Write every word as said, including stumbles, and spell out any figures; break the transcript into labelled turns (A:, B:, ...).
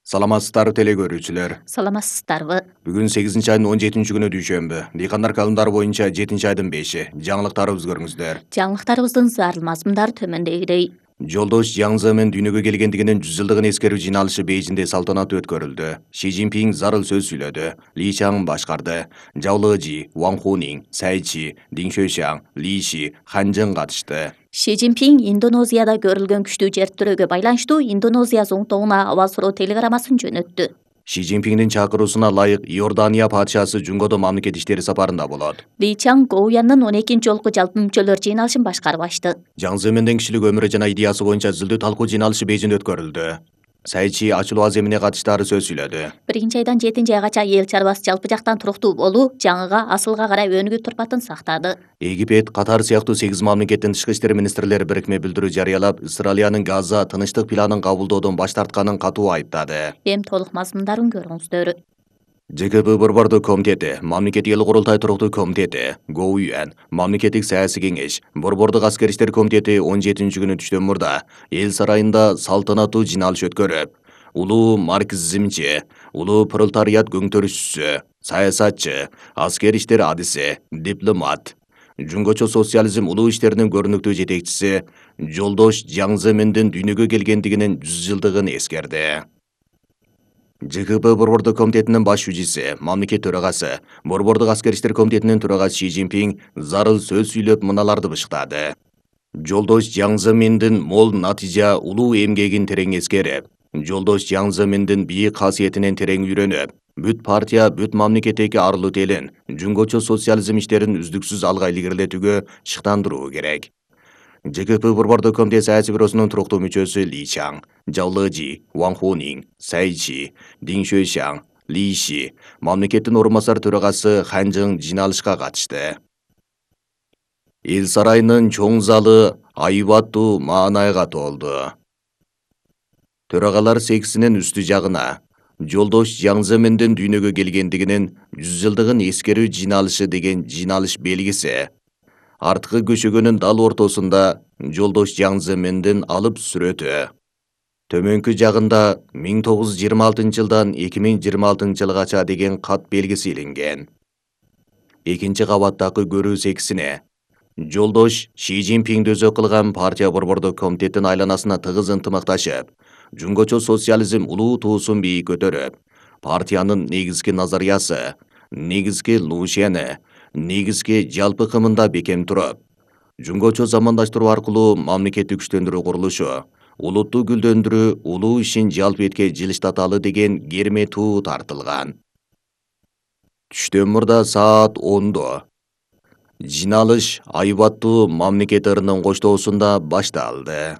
A: Саламатсыздарбы теле көрүүчүлөр.
B: Саламатсыздарбы.
A: Бүгүн сегизинчи айдын он жетинчи күнү дүйшөмбү. Дыйкандар календары боюнча жетинчи айдын беши. Жаңылыктарыбызды көрүңүздөр.
B: Жаңылыктарыбыздын зарыл мазмундары төмөндөгүдөй.
A: Жолдош Жаң Земен дүйнөгө келгендигинин жүз жылдыгын эскерүү жыйналышы Бейжиңде салтанаттуу өткөрүлдү. Ши Цзиньпин зарыл сөз сүйлөдү. Ли Чаң башкарды. Жао Лежи, Ван Хунин, Цай Чи, Дин Шуйшаң, Ли Ши, Хан Чжэн катышты.
B: Ши Цзиньпин Индонезияда көрүлгөн күчтүү жер тирөөгө байланыштуу Индонезия зоңтогуна аба суроо телеграммасын жөнөттү.
A: Ши Цзиньпиндин чакыруусуна ылайык Иордания падышасы Жунгодо мамлекет иштери сапарында болот.
B: Ли Чаң Гоуяндын он экинчи жолку жалпы мүчөлөр жыйналышын башкарып ачты.
A: Жаң Земендин кишилик өмүрү жана идеясы боюнча зилдүү талкуу жыйналышы Бейжиңде өткөрүлдү. Цай Чи ачылуу аземине катыштары сөз сүйлөдү.
B: Биринчи айдан жетинчи айгача эл чарбасы жалпы жактан туруктуу болуу жаңыга асылга карай өнүгүү турпатын сактады.
A: Египет, Катар сыяктуу сегиз мамлекеттин тышкы иштер министрлери бирикме билдирүү жарыялап, Исраилиянын Газа тынычтык планын кабылдоодон баш тартканын катуу айыптады.
B: Эми толук мазмундарын көрүңүздөр.
A: Ж К П Борбордук комитети, Мамлекеттик эл курултай туруктуу комитети, Гоуян, Мамлекеттик саясий кеңеш, Борбордук аскер иштер комитети он жетинчи күнү түштөн мурда эл сарайында салтанаттуу жыйналыш өткөрүп, улуу марксизмчи, улуу пролетариат көңтөрүшчүсү, саясатчы, аскер иштер адиси, дипломат, жунгочо социализм улуу иштеринин көрүнүктүү жетекчиси Жолдош Жаң Земендин дүйнөгө келгендигинин жүз жылдыгын эскерди. Ж К П Борбордук комитетинин баш жүжүсү, мамлекет төрагасы, Борбордук аскер иштер комитетинин төрагасы Ши Цзиньпин зарыл сөз сүйлөп мыналарды бышыктады. Жолдош Жаң Земендин мол натыйжа улуу эмгегин терең эскерип, Жолдош Жаң Земендин бийик касиетинен терең үйрөнүп, бүт партия, бүт мамлекеттеги арлуу телин, жунгочо социализм иштерин үздүксүз алга илгерилетүүгө шыктандыруу керек. Ж К П Борбордук комитет саясий бюросунун туруктуу мүчөсү Ли Чаң, Жао Лежи, Ван Хунин, Цай Чи, Дин Шуйшаң, Ли Ши, мамлекеттин орун басар төрагасы Хан Чжэн жыйналышка катышты. Эл сарайынын чоң залы айбаттуу маанайга толду. Төрагалар сексинин үстү жагына Жолдош Жаң Земендин дүйнөгө келгендигинин жүз жылдыгын эскерүү жыйналышы деген жыйналыш белгиси, арткы көшөгөнүн дал ортосунда Жолдош Жаң Земендин алып сүрөтү. Төмөнкү жагында миң тогуз жүз жыйырма алтынчы жылдан эки миң жыйырма алтынчы жылгача деген кат белгиси илинген. Экинчи кабаттагы көрүү сексине Жолдош Ши Цзиньпин дөзөө кылган партия борбордук комитеттин айланасына тыгыз ынтымакташып, жунгочо социализм улуу туусун бийик көтөрүп, партиянын негизги назариясы, негизги лушени, негизги жалпы кымында бекем туруп, жунгочо замандаштыруу аркылуу мамлекетти күчтөндүрүү курулушу, улутту гүлдөндүрүү, улуу ишин жалпы этке жылыштаталы деген керме туу тартылган. Түштөн мурда саат ондо жыйналыш айбаттуу мамлекет ырынын коштоосунда башталды.